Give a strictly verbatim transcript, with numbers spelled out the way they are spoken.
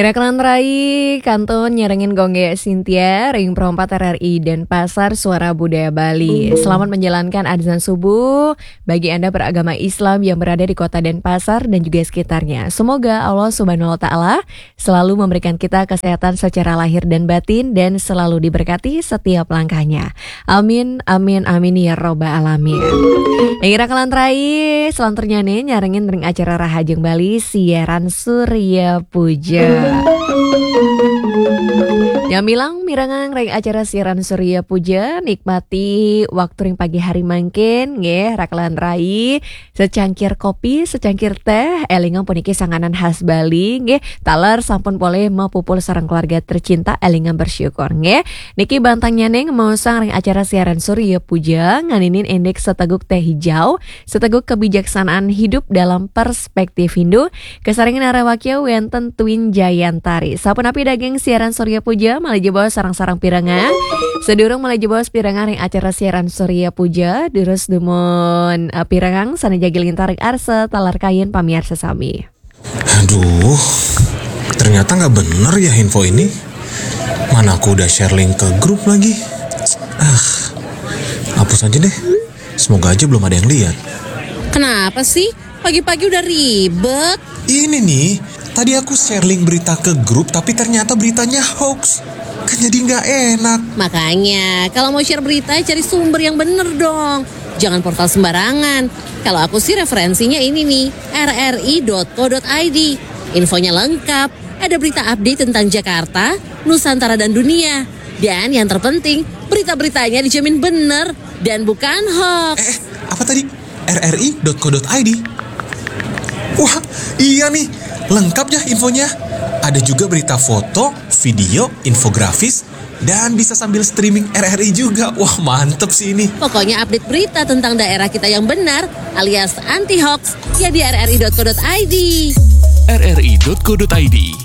Ira kalantaran rai, kantun nyarengin Gung Gé Cynthia, ring Pro empat R R I Denpasar, Suara Budaya Bali. Selamat menjalankan azan subuh bagi Anda beragama Islam yang berada di kota Denpasar dan juga sekitarnya. Semoga Allah Subhanahu wa Ta'ala selalu memberikan kita kesehatan secara lahir dan batin dan selalu diberkati setiap langkahnya. Amin, amin, amin ya robbal alamin. Ira kalantaran rai, selanturnya nih nyarengin ring acara Rahajeng Bali siaran Surya Puja. Nyamilang mirengang ring acara siaran Surya Puja, nikmati waktu ring pagi hari mangkin, nggih, ira kalantaran rai, secangkir kopi, secangkir teh, élingang puniki sanganan khas Bali, nggih, taler sampun polih mapupul sareng keluarga tercinta, élingang bersyukur, nggih. Niki bantangnya ning maosang ring acara siaran Surya Puja, nganinin indik seteguk teh hijau, seteguk kebijaksanaan hidup dalam perspektif Hindu, kasarengin ring wakya wénten Twin Jayantari. Sapunapi daging siaran Surya Puja, malih jebos sareng-sareng pirengang. Sadurung malih jebos pirengang ring acara siaran Surya Puja, durus dumun, eh, pirengang sané jagi lintar ring arsa taler kayun pamiarsa sami. Aduh, ternyata nggak bener ya info ini. Mana aku udah share link ke grup lagi. Ah, hapus aja deh. Semoga aja belum ada yang lihat. Kenapa sih? Pagi-pagi udah ribet. Ini nih, tadi aku share link berita ke grup, tapi ternyata beritanya hoax. Kan jadi nggak enak. Makanya, kalau mau share berita, cari sumber yang bener dong. Jangan portal sembarangan. Kalau aku sih referensinya ini nih, R R I dot co dot I D. Infonya lengkap, ada berita update tentang Jakarta, Nusantara dan dunia. Dan yang terpenting, berita-beritanya dijamin bener dan bukan hoax. Eh, eh, apa tadi? R R I dot co dot I D. Wah, iya nih, lengkap ya infonya. Ada juga berita foto, video, infografis, dan bisa sambil streaming R R I juga. Wah, mantep sih ini. Pokoknya update berita tentang daerah kita yang benar alias anti hoax ya di R R I dot co dot I D. R R I dot co dot I D.